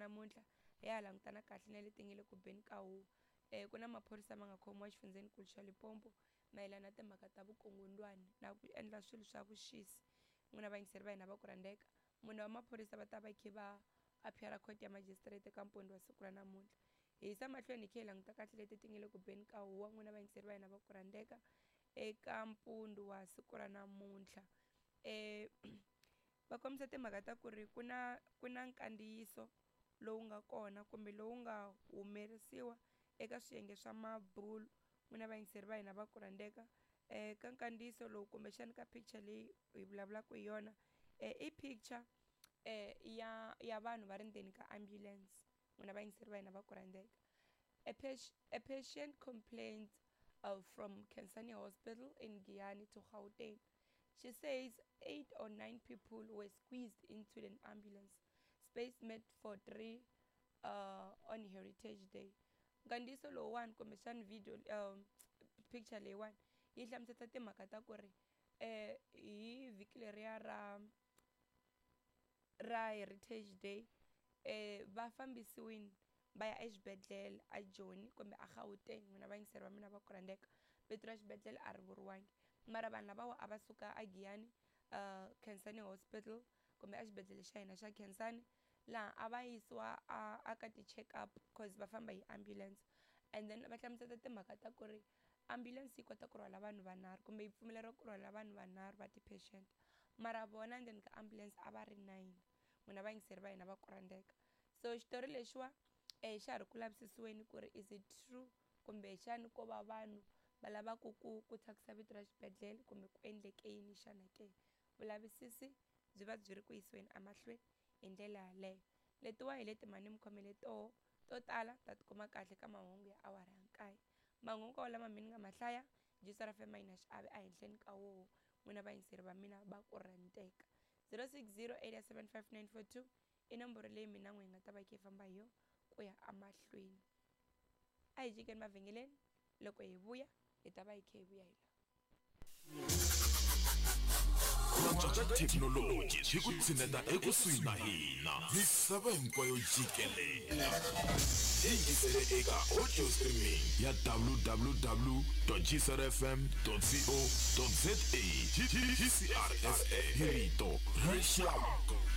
namuntlha hi ya langutana kahle na leti nga le ku beni ka huwa. Ku na maphorisa ma nga khomiwa exifundzhenikulu xa Limpopo mayelana na timhaka ta vukungundwani na ku endla swilo swa vuxisi. N'wina vayingiseri va hina va ku rhandzeka, mune wa maphorisa va ta va khe va appear court ya magistrate eka mpondo wa siku ra namuntlha. Hi yisa mahlweni hi khe hi languta kahle leti ti nga le ku beni ka huwa, n'wina vayingiseri va hina va ku rhandzeka, eka mpundu wa siku ra namuntlha. Va kombisa timhaka ta ku ri ku na ku na nkandziyiso lowu nga kona kumbe lowu nga humerisiwa eka swiyenge swa mabulo, n'wina vayingiseri va hina va ku rhandzeka. Ka nkandziyiso lowu kumbexani ka picture leyi hi vulavulaka hi yona, i picture ya vanhu va ri ndzeni ka ambulance, n'wina vayingiseri va hina va ku rhandzeka. A patient complained from Khensani Hospital in Giyani to Gauteng. She says 8 or 9 people were squeezed into an ambulance space meant for 3 on Heritage Day. Nkandziyiso lowuwani kumbexani video picture leyiwani yi hlamusela timhaka ta ku ri hi vhiki leriya ra Heritage Day, va fambisiwile va ya exibedhlele a Joni kumbe a Gauteng, n'wina vayingiseri va mina va ku rhandzeka. Vito ra xibedhlele a ri vuriwangi, mara vanhu lavawa a va suka a Giyani, Khensani Hospital kumbe exibedhlele xa hina xa Khensani, laha a va yisiwa a ka ti-check up cause va famba hi ambulance. And then va hlamusela timhaka ta ku ri ambulance yi kota ku rhwala vanhu vanharhu kumbe yi pfumeleriwa ku rhwala vanhu vanharhu va ti-patient, mara vona ndzeni ka ambulance a va ri 9, n'wina vayingiseri va hina va ku rhandzeka. So xitori lexiwa xa ha ri ku lavisisiweni ku ri is it true kumbexani ko va vanhu va lavaku ku thyakisa vito ra xibedhlele kumbe ku endleke yini xana ke. Vulavisisi byi va byi ri ku yisiweni emahlweni hi ndlela yaleyo. Letiwa hi leti mhani mi khomele toho to tala ta tikuma kahle ka mahungu ya awara ya 9. Mahungu lama mi ni nga ma hlaya Jisara FM yi na xiave ehenhleni ka woho, n'wina vayingiseri va mina va ku rhandzeka. 0608755942 i nomboro leyi mina n'we hi nga ta va yi kha yi famba hi yona ku ya emahlweni. A hi jikeni mavhengeleni, loko hi vuya hi ta va hi kha hi vuya hi laha. Thekinoloji yi ku tshineta ekusuhi na hina, misava hinkwayo jikelele. Yingisele eka audio streaming ya www.gcrfm.co.za. GCRFM, hi rito ra rixaka.